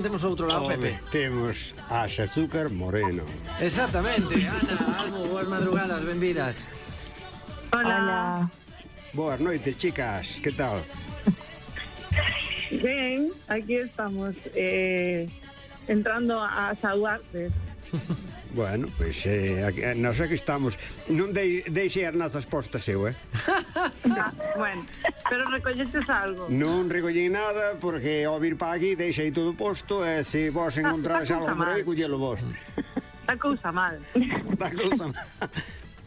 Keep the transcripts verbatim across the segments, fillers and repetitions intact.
Temos outro lado, Pepe. Temos a Azúcar Moreno. Exactamente, Ana, Almo, boas madrugadas, benvidas. Hola. Boas noites, chicas, que tal? Ben, aquí estamos eh, entrando a saudarte. Bueno, pois pues, eh, aquí, nós aquí estamos. Non dei, deixe as nazas postas eu, eh? Ah, bueno, pero recolleches algo. Non recollín nada porque ao vir para aquí deixei todo posto e se vos encontrades algo por aí, collelo vos. Está cousa mal. Está cousa mal.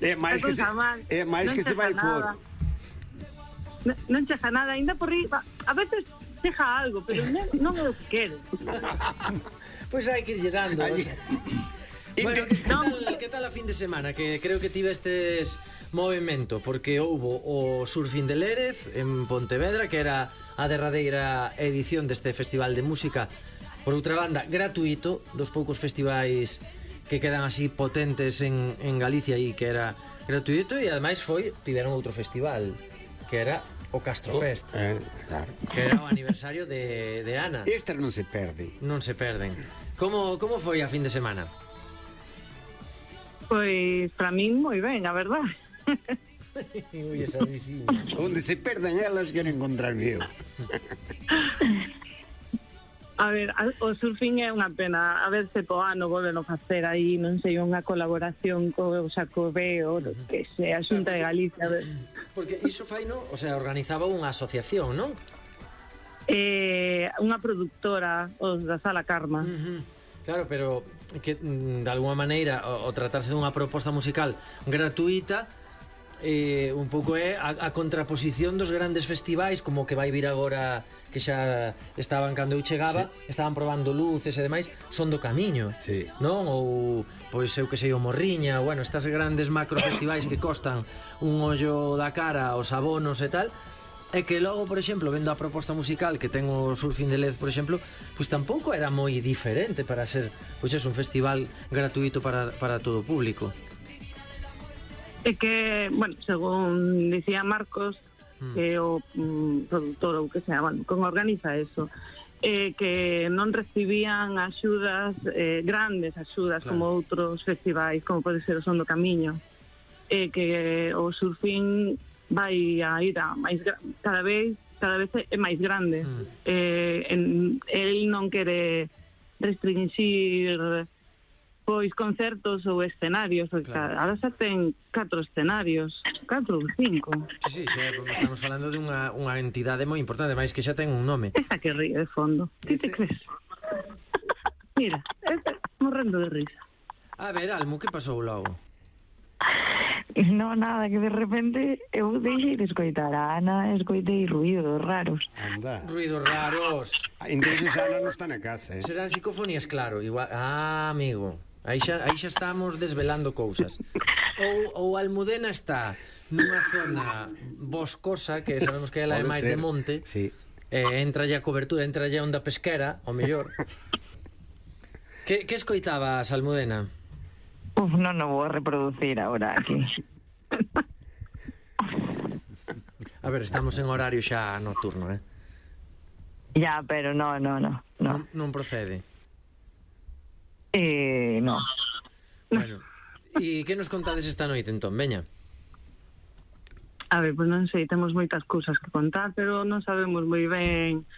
É máis que se, é máis que se vai por. Non, non chega nada, ainda por riba. A veces chega algo, pero non, non é o que quero. Pois pues hai que irlle dando. Bueno, que, que, tal, que tal a fin de semana? Que creo que tivestes movimento, porque houbo o Surfing de Lérez en Pontevedra, que era a derradeira edición deste festival de música, por outra banda, gratuito, dos poucos festivais que quedan así potentes en, en Galicia e que era gratuito, e ademais foi, tiveron outro festival, que era o Castro Fest, oh, eh, claro. Que era o aniversario de, de Ana. Estas non se perden. Non se perden. Como, como foi a fin de semana? Pois, para min, moi ben, a verdad. Ui, esa risiña. Onde se perden elas, quero encontrar eu. A ver, o surfing é unha pena. A ver se po ano volven a facer aí, non sei, unha colaboración co Xacobeo, que se a Xunta de Galicia. Porque iso fai, no? O sea, organizaba unha asociación, non? Eh, unha productora, os da Sala Karma. Uh-huh. Claro, pero que de alguma maneira o, o tratarse dunha proposta musical gratuita eh, un pouco é a, a contraposición dos grandes festivais, como que vai vir agora, que xa estaban cando eu chegaba, sí. Estaban probando luces e demais, son do camiño, sí. Non? Ou, pois eu que sei, o Morriña, bueno, estas grandes macro festivais que costan un ollo da cara os abonos e tal. É que logo, por exemplo, vendo a proposta musical que ten o Surfing de Lérez, por exemplo, pois tampouco era moi diferente para ser, pois é un festival gratuito para, para todo o público. É que, bueno, según dicía Marcos, mm. que é o mm, productor ou que sea, bueno, como organiza eso, eh, que non recibían axudas, eh, grandes axudas, claro, como outros festivais, como pode ser o Son do Camiño, eh, que o Surfing vai a ir a máis cada vez cada vez é máis grande. Mm. Eh, en, el non quere restringir pois concertos ou escenarios, claro. Ahora xa ten catro escenarios, catro ou cinco. Sí, sí, xa, estamos falando de unha, unha entidade moi importante, máis que xa ten un nome. Esa que ríe de fondo. Que te crees? Mira, este, morrendo de risa. A ver, Almo, que pasou logo? No, nada, que de repente eu deixei de escoitar a Ana, escoitei ruidos raros. Anda. Ruidos raros. Entonces Ana non está na casa, eh? Serán psicofonías, claro, igual. Ah, amigo, aí xa, aí xa estamos desvelando cousas. Ou, ou Almudena está nunha zona boscosa, que sabemos que ela é máis de monte, sí. eh, entra ya a cobertura, entra ya a onda pesquera, ao mellor. que, que escoitabas, Almudena? Uf, non o vou reproducir agora aquí. A ver, estamos en horario xa nocturno, eh? Ya, pero no, no, no, no. Non, non procede. Eh, no. Bueno, e que nos contades esta noite, entón, veña? A ver, pois non sei, temos moitas cousas que contar, pero non sabemos moi ben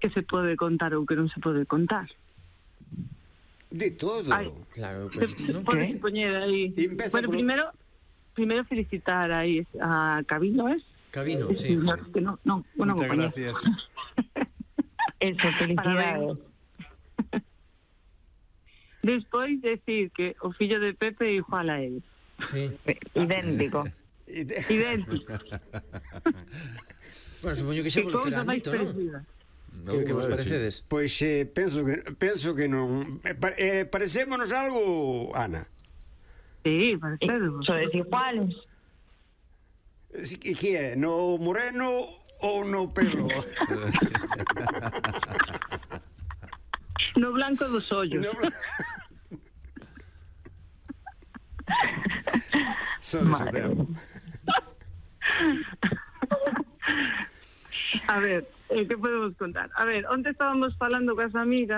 que se pode contar ou que non se pode contar. De todo. Ay, claro, pues, ¿no? Podes poñer aí. Bueno, por... primero primero felicitar aí a Cabino, ¿es? Cabino, es, sí. No, que no, no, bueno, muchas gracias. Eso, felicidades. Despois decir que o fillo de Pepe é igual a él. Sí. Idéntico. Idéntico. Bueno, supoño que xa vos terán dito, non? Que, que vos parecedes? Pois eh, penso que penso que non eh, parecémonos algo, Ana. Sí, parecemos. Sodes iguales. Que, que é? No moreno ou no pelo? No blanco dos ollos. No blanco. Sodes o tempo. A ver, eh, que podemos contar? A ver, onte estábamos falando cas amigas